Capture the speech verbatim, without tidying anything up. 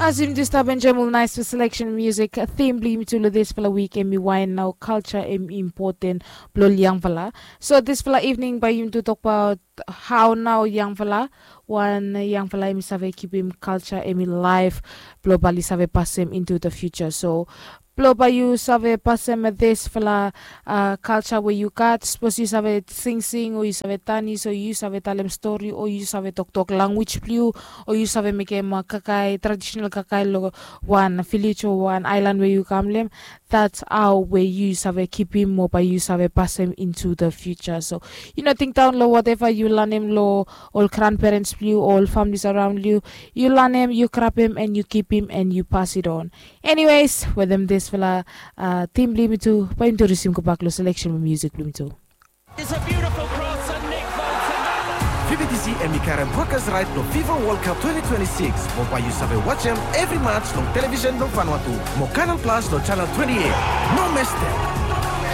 As yumi tu stap enjoem ol naesfala seleksen musik, tim blong yumi tu long disfala wik em i wae nao kalja em i impoten blong ol yangfala. So disfala ivning bae yumi tu tokbaot hao nao yangfala, wan yangfala em i save kipim kalja em i laef blong bae oli save pasem intu da fiuja. So blong bae yu save pasem disfala kalja we yu gat, sapos yu save singsing o yu save danis o yu save talem stori o yu save toktok lanwis blong yu, o yu save mekem kakae, tradisenal kakae long wan vilej o wan aelan we yu kam long hem. Dats hao we yu save kipim mo bae yu save pasem intu da fiuja. So yu no tingdaon long wateva yu lanem long ol granperens blong yu o ol famlis araon long yu. Yu lanem, yu grabem en yu kipim en yu pasidon. Eniwes, wetem disfala tim blong yumi tu bae yumi tu risim gobak long seleksen blong musik blong yumi tu. It's a beautiful cross and Nick Bolton. Vividisi em i karem brokas raet blong Fifa Wol Kap twenty twenty-six mo bae yu save wajem evri mats long televisen blong Vanuatu mo Kanal Plas long janel twenty-eight. No mestem.